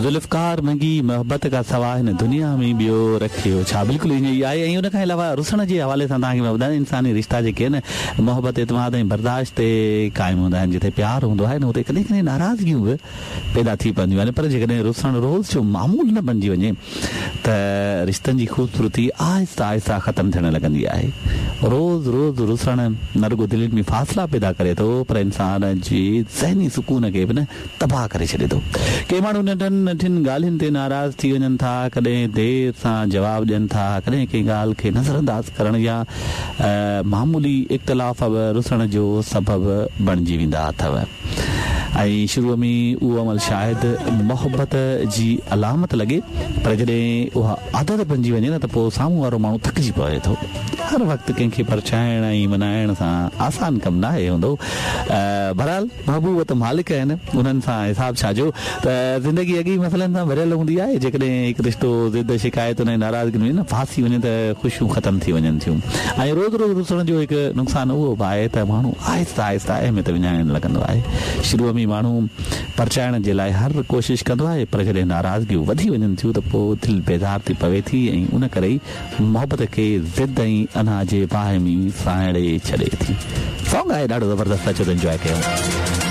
ذوالفقار منگي محبت کان سوا هن دنيا ۾ ٻيو رکيو ڇا بلڪل ائين ئي آهي ۽ ان کان علاوه رسڻ جي حوالي سان توهان کي مان ٻڌايان انساني رشتا جيڪي آهن محبت اعتماد ۽ برداشت تي قائم هوندا آهن جتي پيار هوندو آهي نه اتي ڪڏهن ڪڏهن ناراضگيون به پيدا ٿي پونديون آهن پر جيڪڏهن رسڻ روز جو معمول نه بڻجي وڃي ته رشتن جي خوبصورتي آهسته آهسته ختم ٿيڻ لڳندي آهي. روز روز رسڻ نه رڳو دلين ۾ فاصلا پيدا ڪري ٿو پر انسان جي ذهني سڪون کي به نه تباهه ڪري ڇڏي ٿو. ڪي ماڻهو ننڍن ننڍين ڳالهين تي ناراض ٿي وڃن ٿا، ڪڏهن دير سان جواب ڏين ٿا، ڪڏهن ڪنهن ڳالهه کي نظرانداز ڪرڻ يا معمولي اختلاف به رسڻ جو سبب بڻجي ويندا اٿو. ۽ شروع ۾ اهو عمل شايد محبت جي علامت لڳي پر جڏهن اها عادت بنجي وڃي نه ته پوء سامهون وارو ماڻهو ٿڪجي پوي ٿو. هر وقت ڪنهن کي پرچائڻ ۽ منائڻ سان آسان ڪم ناهي هوندو. بهرحال محبوب ته مالڪ آهن انهن سان حساب ڇا جو ته زندگي اڳي ئي مسئلن سان ڀريل هوندي آهي جيڪڏهن هڪ رشتو ضد شڪايتن ۽ ناراضگين ۾ نه ڦاسي وڃي ته خوشيون ختم ٿي وڃن ٿيون ۽ روز روز رسڻ جو هڪ نقصان اهو به آهي ته ماڻهو آهستي آهستي اهميت وڃائڻ لڳندو آهي شروع ۾ ماڻهو پرچائڻ جي لاء هر ڪوشش ڪندو آهي پر جڏهن ناراضگيون وڌي وڃن ٿيون ته پوء دل بيزار ٿي پوي ٿي ۽ ان ڪري ئي محبت کي ضد ۽ انا جي باهه ۾ ساڙي ڇڏي ٿي. سانگ آهي ڏاڍو زبردست اچو ته انجواء ڪيون.